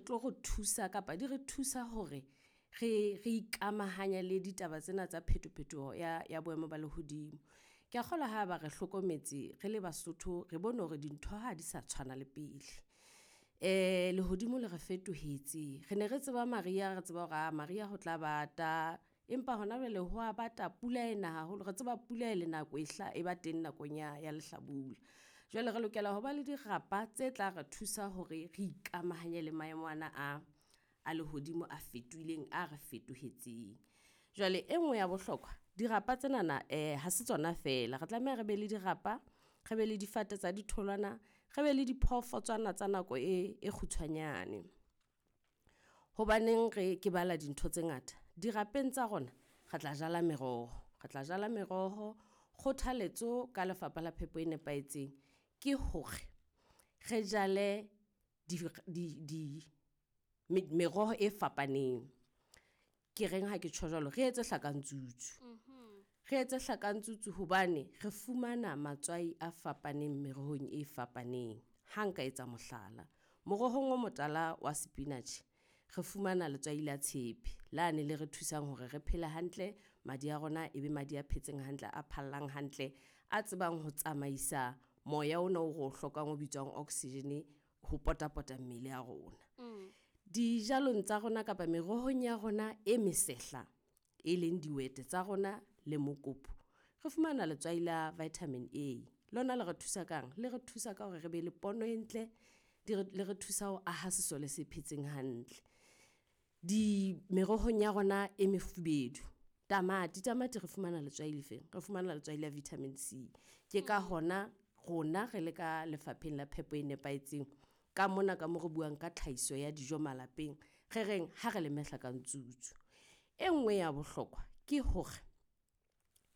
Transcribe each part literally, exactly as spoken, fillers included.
tlo re thusa kapa di re thusa hore re re ikamahanya le ditaba tsena tsa phetophetoho ya ya boemo ba lehodimo. Ke a kgolwa ha ba re hlokometse re le Basotho, re bone hore dintho ha di sa tshwana le pele. Eh lehodimo le re fetohetse. Re ne re tseba mariha, re tseba hore ah mariha ho tla bata, empa hona jwale ho a bata, pula ena haholo. Re tseba pula e le nako e hla e ba teng nakong ya ya lehlabula. Jwale re lokela ho ba le dirapa tse tla re thusa hore re ikamahanye le maemo ana a a lehodimo a fetohileng, a re fetohetseng. Jwale e nngwe ya bohlokwa, dirapa tsenana eh ha se tsona fela. Re tlameha re be le dirapa, re be le difate tsa ditholwana, re be le diphoofotswana tsa nako e e kgutshwanyane. Hobaneng re ke bala dintho tse ngata? Dirapeng tsa rona re tla jala meroho, re tla jala meroho. Kgothaletso ka Lefapha la Phepo e Nepahetseng ke hore re jale di di di meroho e fapaneng. Ke reng ha ke tjho jwalo? Re etse hlakantsutsu. Re etse hlakantsutsu hobane re fumana matswai a fapaneng merohong e fapaneng. Ha nka etsa mohlala, morohong o motala wa spinach re fumana letswai la tshepe lane le re thusang hore re phele hantle, madi a rona e be madi a phetseng hantle, a phallang hantle, a tsebang ho tsamaisa moya ona o re o hlokang o bitswang oxygen ho potapota mmele ya rona. Dijalong tsa rona kapa merohong ya rona e mesehla, e leng dihwete tsa rona le mokopu, re fumana letswai la vitamin A. Lona le re thusa kang? Le re thusa ka hore re be le pono e ntle, le re thusa ho aha sesole se phetseng hantle. Di merohong ya rona e mefubedu, tamati, tamati re fumana letswai le feng? Re fumana letswai la vitamin C. Ke ka hona rona re le ka Lefapheng la Phepo e Nepahetseng, ka mona ka mo re buang ka tlhahiso ya dijo malapeng, re reng ha re leme hlakantsutsu. E nngwe ya bohlokwa ke hore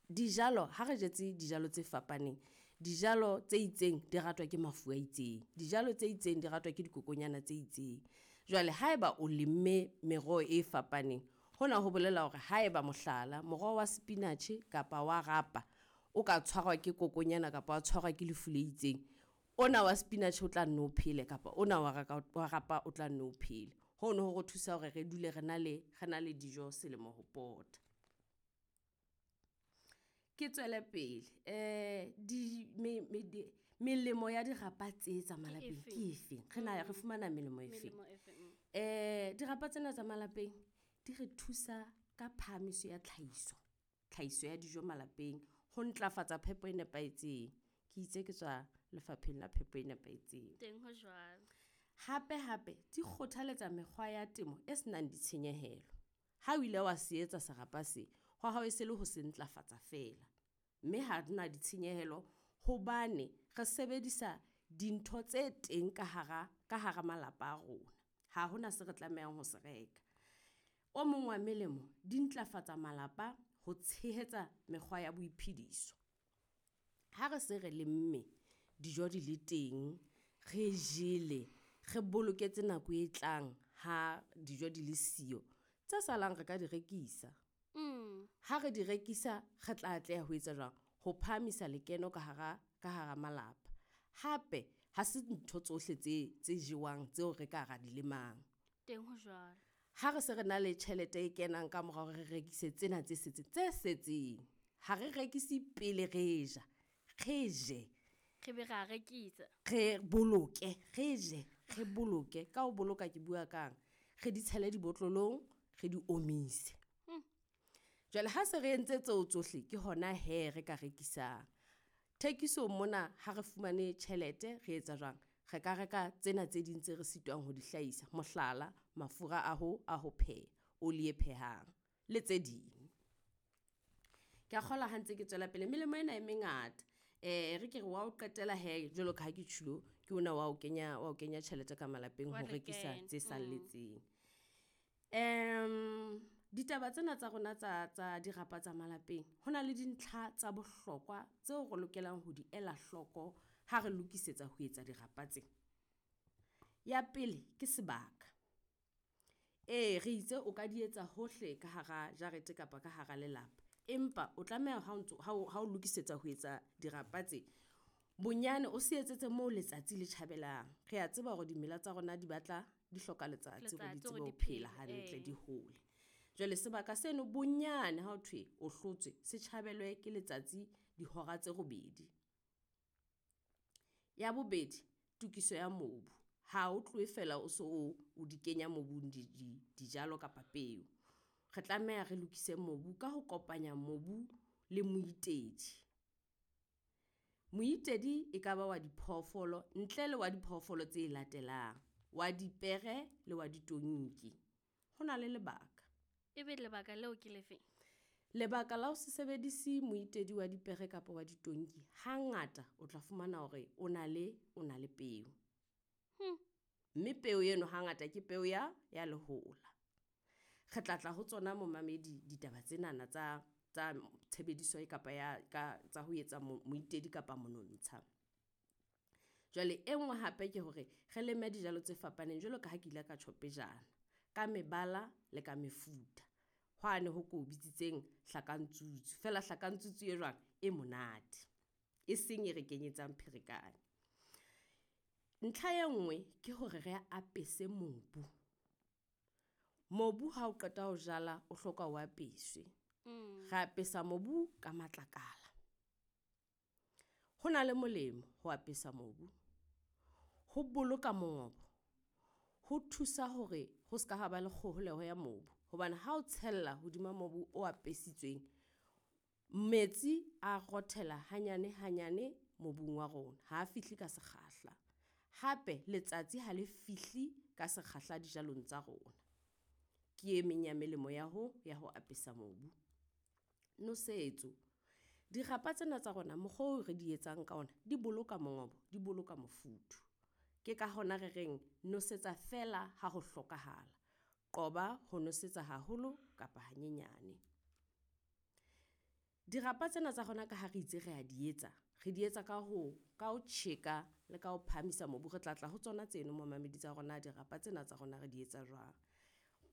dijalo, ha re jetse dijalo tse fapaneng, dijalo tse itseng di ratwa ke mafu a itseng, dijalo tse itseng di ratwa ke dikokonyana tse itseng. Jwale haeba o lemme meroho e fapaneng, hona ho bolela hore haeba mohlala moroho wa spinach kapa wa rapa o ka tshwarwa ke kokonyana kapa wa tshwarwa ke lefu le itseng, ona wa spinach o tla nno o phele kapa ona wa wa rapa o tla nno o phele. Hono ho re thusa hore re dule re na le re na le dijo selemo ho pota. Ke tswele pele, eh di me, me, di, melemo ya dirapa tse tsa malapeng ke efeng? Re na re fumana melemo efeng? Eh dirapa tsena tsa malapeng di re thusa ka phahamiso ya tlhahiso, tlhahiso ya dijo malapeng, ho ntlafatsa phepo e nepahetseng. Ke itse ke tswa Lefapheng la Phepo e Nepahetseng. Teng ho jwalo. Hape hape di kgothaletsa mekgwa ya temo e senang ditshenyehelo. Ha o ile wa se etsa serapa se, hwa hao e se le ho se ntlafatsa feela. Mme ha re na ditshenyehelo hobane re sebedisa dintho tse teng ka hara, ka hara malapa a rona. Ha hona se re tlamehang ho se reka. O mong wa melemo, di ntlafatsa malapa ho tshehetsa mekgwa ya boiphediso. Ha re se re lemme, dijo di le teng, re jele, re boloketse nako e tlang ha dijo di le siyo, tse salang re ka di rekisa. Mm. Ha re di rekisa, re tla atleha ho etsa jwang? Ho phahamisa lekeno ka hara, ka hara malapa. Hape ha se ntho tsohle tse, tse jewang tseo re ka ra di lemang. Teng ho jwalo. Ha re se re na le tjhelete e kenang ka mora hore re rekise tsena tse setseng, tse setseng, ha re rekise pele re ja, re je. Re be ra rekisa. Re boloke, re je, re boloke. Ka ho boloka ke bua kang? Re di tshele dibotlolong, re di omise. Hmm. Jwale ha se re entse tseo tsohle, ke hona he re ka rekisang. Thekisong mona ha re fumane tjhelete, re etsa jwang? Re ka reka tsena tse ding tse re sitwang ho di hlahisa. Mohlala, mafura a ho, a ho pheha, oli e phehang le tse ding. Ke a kgolwa ha ntse ke tswela pele, melemo ena e mengata. Eh, re ke re wa o qetela he, jwalo ka ha ke tjhulo, ke ona wa o kenya, wa o kenya tjhelete ka malapeng Wa ho rekisa lekeno. tse salletseng. Em, ditaba tsena tsa rona tsa, tsa dirapa tsa malapeng, ho na le dintlha tsa bohlokwa tseo re lokelang ho di ela hloko ha re lokisetsa ho etsa dirapa tse. Ya pele ke sebaka. Ee, re itse o ka di etsa hohle ka hara jarete kapa ka hara lelapa. Empa o tlameha ha o ntso, ha o, ha o lokisetsa ho etsa dirapa tse, bonyane o se etsetse moo letsatsi le tjhabelang. Re a tseba hore dimela tsa rona di batla di hloka letsatsi hore di Letsatsi tsebe hore ho di phela phele, hantle, ee. di hole. Jwale sebaka seno bonyane ha ho thwe o hlotswe se tjhabelwe ke letsatsi dihora tse robedi. Ya bobedi, tokiso ya mobu. Ha o tlohe fela o so o, o di kenya mobung di, di, dijalo kapa peo. Re tlameha re lokise mobu ka ho kopanya mobu le moitedi. Moitedi e ka ba wa diphoofolo ntle le wa diphoofolo tse latelang, wa dipere le wa ditonki. Ho na le lebaka. Ebe lebaka leo ke le feng? Lebaka la ho se sebedise moitedi wa dipere kapa wa ditonki, hangata o tla fumana hore o na le, o na le peo. Hmm. Mme peo eno hangata ke peo ya, ya lehola. Re tla tla ho tsona momamedi ditaba tsenana tsa, tsa tshebediso e kapa ya ka tsa ho etsa moitedi kapa monontsha. Jwale e nngwe hape ke hore re leme dijalo tse fapaneng jwalo ka ha ke ile ka tjho pejana. Ka mebala le ka mefuta. Hwane ho ko bitsitseng hlakantsutsu. Feela hlakantsutsu e jwang? E monate. E seng e re kenyetsang pherekano. Ntlha e nngwe ke hore re apese mobu. Mobu ha o qeta ho jala, o hloka o apeswe. Mm. Re apesa mobu ka matlakala. Ho na le molemo ho apesa mobu. Ho boloka mongobo, ho thusa hore ho ska ha ba le kgoholeho ya mobu. Hobane ha o tshella hodima mobu o apesitsweng, metsi a rothela hanyane hanyane mobung wa rona, ha fihle ka sekgahla. Hape letsatsi ha le fihle ka sekgahla dijalong tsa rona. Ke e meng ya melemo ya ho, ya ho apesa mobu. Nosetso, dirapa tsena tsa rona mokgwa oo re di etsang ka ona, di boloka mongobo, di boloka mofuthu. Ke ka hona re reng nosetsa feela ha ho hlokahala. Qoba ho nosetsa haholo kapa hanyenyane. Dirapa tsena tsa rona ka ha re itse re a di etsa, re di etsa ka ho, ka ho tjheka le ka ho phahamisa mobu. Re tla tla ho tsona tseno momamedi tsa rona dirapa tsena tsa rona re di etsa jwang.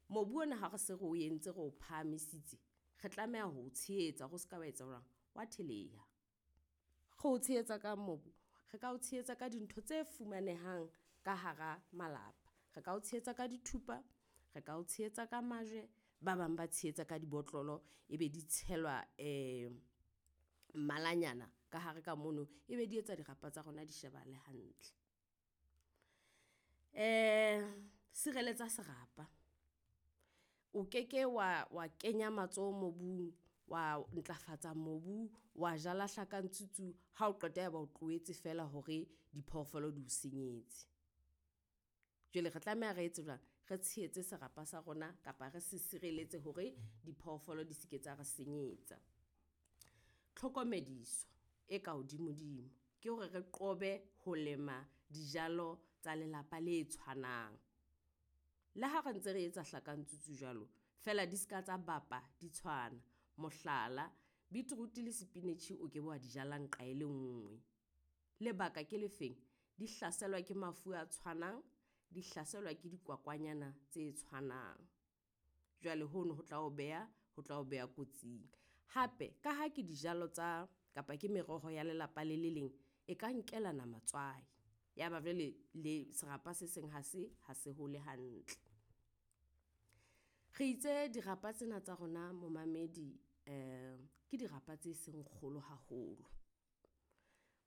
Mobu ona ha re se re o entse re o phahamisitse, re tlameha ho o tshehetsa hore o ska wa etsa jwang, wa theleha. Re o tshehetsa ka mobu, re ka o tshehetsa ka dintho tse fumanehang ka hara malapa. Re ka o tshehetsa ka dithupa, re ka o tshehetsa ka majwe, ba bang ba tshehetsa ka dibotlolo, ebe di tshelwa mmalanyana ka hare ka mono, ebe di etsa dirapa tsa rona di shebahale hantle. Sireletsa serapa, o keke wa, wa kenya matsoho mobung, wa ntlafatsa mobu, wa jala hlakantsutsu ha o qeta ya ba o tlohetse fela hore diphoofolo di o senyetse. Jwale re tlameha re etse jwang? Re tshehetse serapa sa rona kapa re se sireletse hore diphoofolo di seke tsa re senyetsa. Tlhokomediso e ka hodimo-dimo, ke hore re qobe ho lema dijalo tsa lelapa le tshwanang. Le ha re ntse re etsa hlakantsutsu jwalo, feela di ska tsa bapa di tshwana. Mohlala, beetroot le spinach o ke be wa di jala nqa e le nngwe. Lebaka ke le feng? Di hlaselwa ke mafu a tshwanang, di hlaselwa ke dikwakwanyana tse tshwanang. Jwale hono ho tla o beha, ho tla o beha kotsing. Hape ka ha ke dijalo tsa kapa ke meroho ya lelapa le le leng, e ka nkelana matswai. Ya ba jwale le serapa se seng ha se, ha se hole hantle. Re itse dirapa tsena tsa rona momamedi ke dirapa tse seng kgolo haholo.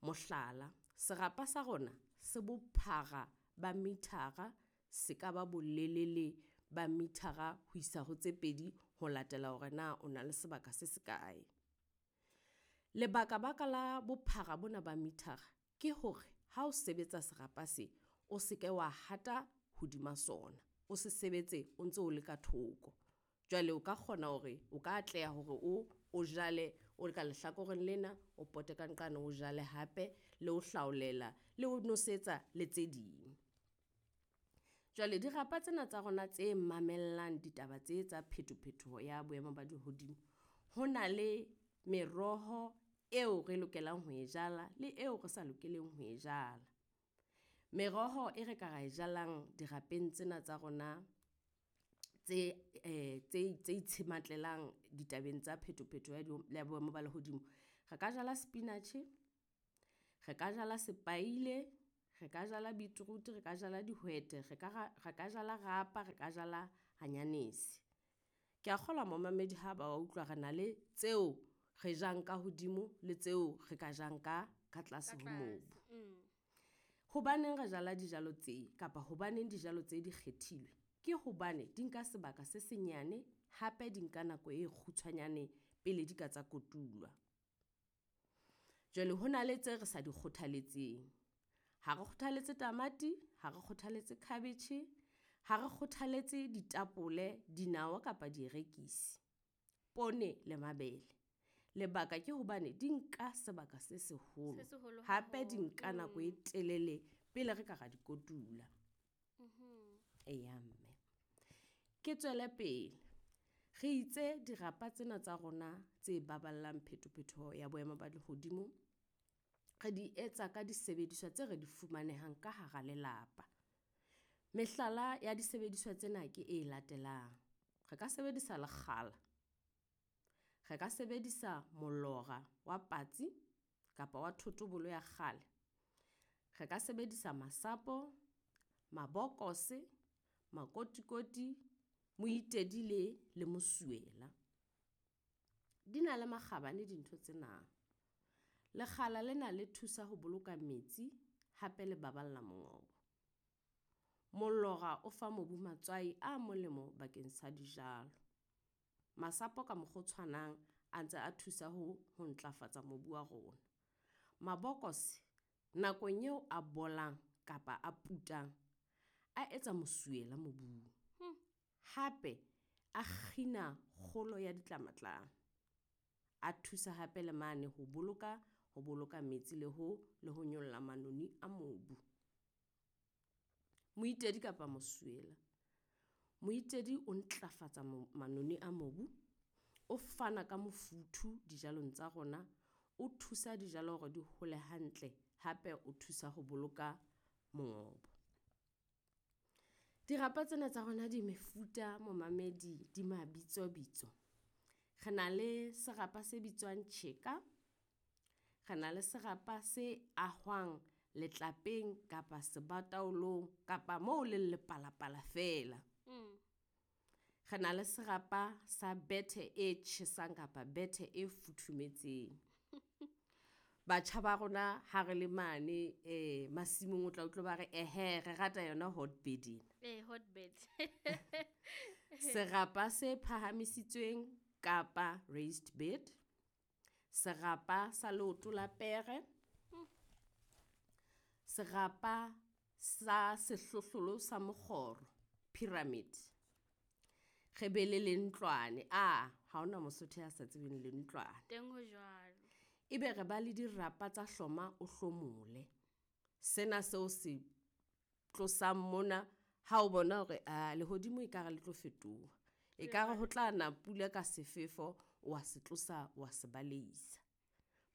Mohlala, serapa sa rona se bophara ba meter-a, se ka ba bolelele ba meter-a ho isa ho tse pedi ho latela hore na o na le sebaka se se kae. Lebaka baka la bophara bona ba meter-a, ke hore ha o sebetsa serapa se, o seke wa hata hodima sona, o se sebetse o ntso le ka thoko. Jwale o ka kgona hore o ka atleha hore o o jale o le ka lehlakoreng lena, o pote ka nqane o jale hape le ho hlaolela le ho nosetsa le tse ding. Jwale dirapa tsena tsa rona tse mamellang ditaba tse tsa pheto-phetoho ya boemo ba lehodimo. Ho na le meroho eo re lokelang ho e jala, le eo re sa lokeleng ho e jala. Meroho e re ka ra e jalang dirapeng tsena tsa rona tse tse tse itshematlelang ditabeng tsa pheto-phetho ya boemo ba lehodimo. Re ka jala spinach, re ka jala sepaile, re ka jala beetroot, re ka jala dihwete, re ka re ka jala rapa, re ka jala hanyanese. Ke a kgolwa momamedi ha ba utlwa re na le tseo re jang ka hodimo le tseo re ka jang ka ka tlase ho mobu. Mm. Hobaneng re jala dijalo tse kapa hobaneng dijalo tse di kgethilwe? Ke hobane di nka sebaka se senyane, hape di nka nako e kgutshwanyane pele di ka tsa kotulwa. Jwale ho na le tse re sa di kgothaletseng. Ha re kgothaletse tamati, ha re kgothaletse cabbage, ha re kgothaletse ditapole, dinawa kapa dierekisi, poone le mabele. Lebaka ke hobane di nka sebaka se seholo. Se seholo Hape di haholo. nka nako e telele pele re ka ra di kotula. Mhm. Eya mme. Ke tswele pele. Re itse dirapa tsena tsa rona tse baballang phetophetoho ya boemo ba lehodimo, re di etsa ka disebediswa tse re di fumanehang ka hara lelapa. Mehlala ya disebediswa tsena ke e latelang. Re ka sebedisa lekgala, re ka sebedisa molora wa patsi kapa wa thotobolo ya kgale. Re ka sebedisa masapo, mabokose, makotikoti, moitedi le le mosuwela. Di na le makgabane dintho tsena. Lekgala lena le thusa ho boloka metsi, hape le baballa mongobo. Molora o fa mobu matswai a molemo bakeng sa dijalo. Masapo ka mokgwa o tshwanang a ntse a thusa ho ho ntlafatsa mobu wa rona. Mabokose nakong eo a bolang kapa a putang, a etsa mosuwela mobung. Hmm. Hape a kgina kgolo ya ditlamatlama. A thusa hape le mane ho boloka ho boloka metsi le ho le ho nyolla manoni a mobu. Moitedi kapa mosuwela. Moitedi o ntlafatsa manoni a mobu, o fana ka mofuthu dijalong tsa rona, o thusa dijalo hore di hole hantle, hape o thusa ho boloka mongobo. Dirapa tsena tsa rona di mefuta momamedi di mabitso bitso. Re na le serapa se bitswang tjheka, re na le serapa se ahwang letlapeng kapa sebataolong kapa moo leng lepalapala fela. Mm. Re na le serapa sa bethe e tjhesang kapa bethe e futhumetseng. Batjha ba rona ha re le mane eh masimong o tla utlwa ba re ehe re rata yona hotbed ena. Eh, hotbed. Serapa se phahamisitsweng kapa raised bed. Serapa sa leoto la pere. Serapa sa sehlohlolo sa mokgoro, pyramid. Re be le lentlwane. Ah, ha hona Mosotho ya sa tsebeng lentlwane. Teng ho jwalo. Ebe re ba le dirapa tsa hloma o hlomole. Sena seo se tlosang mona ha o bona hore a lehodimo ekare le tlo fetoha. Ekare ho tla na pula ka sefefo, wa se tlosa wa se baleisa.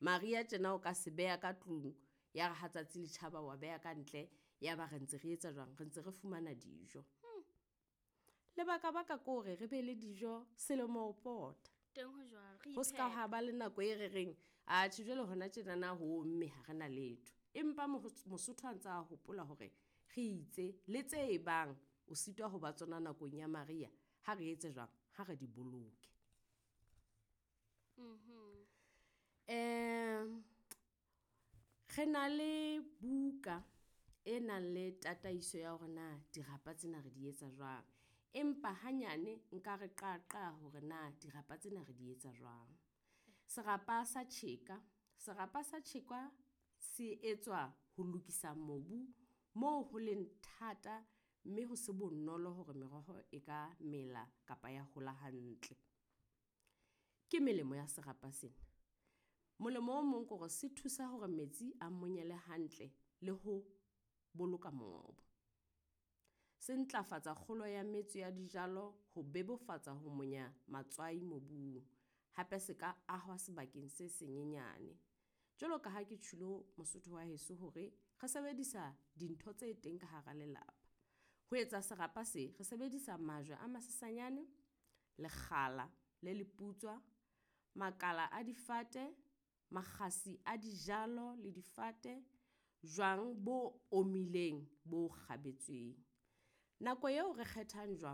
Mariha tjena o ka se beha ka tlung, ya re ha tsatsi le tjhaba wa beha ka ntle, ya ba re ntse re etsa jwang? Re ntse re fumana dijo. Hmm. Lebaka baka ke hore re be le dijo selemo ho pota. Teng ho jwalo, re Ho ska iphepa. ha ba le nako e re reng, atjhe jwale hona tjenana ho omme ha re na letho. Empa Mosotho a ntse a hopola hore re itse le tse e bang o sitwa ho ba tsona nakong ya mariha, ha re etse jwang? Ha re di boloke. Mhm. Eh, re na le buka e nang le tataiso ya hore na dirapa tsena re di etsa jwang. Empa hanyane nka re qaqa hore na dirapa tsena re di etsa jwang. Serapa sa tjheka, serapa sa tjheka se etswa ho lokisa mobu moo ho leng thata mme ho se bonolo hore meroho e ka mela kapa ya hola hantle. Ke melemo ya serapa sena. Molemo o mong ke hore se thusa hore metsi a monyele hantle le ho boloka mongobo. Se ntlafatsa kgolo ya metso ya dijalo ho bebofatsa ho monya matswai mobung. Hape se ka ahwa sebakeng se senyenyane. Jwalo ka ha ke tjhulo Mosotho wa heso hore re sebedisa dintho tse teng ka hara lelapa. Ho etsa serapa se, re sebedisa majwe a masesanyane, lekgala le leputswa, makala a difate, makgasi a dijalo le difate, Jwang bo omileng bo kgabetsweng. Nako eo re kgethang jwang.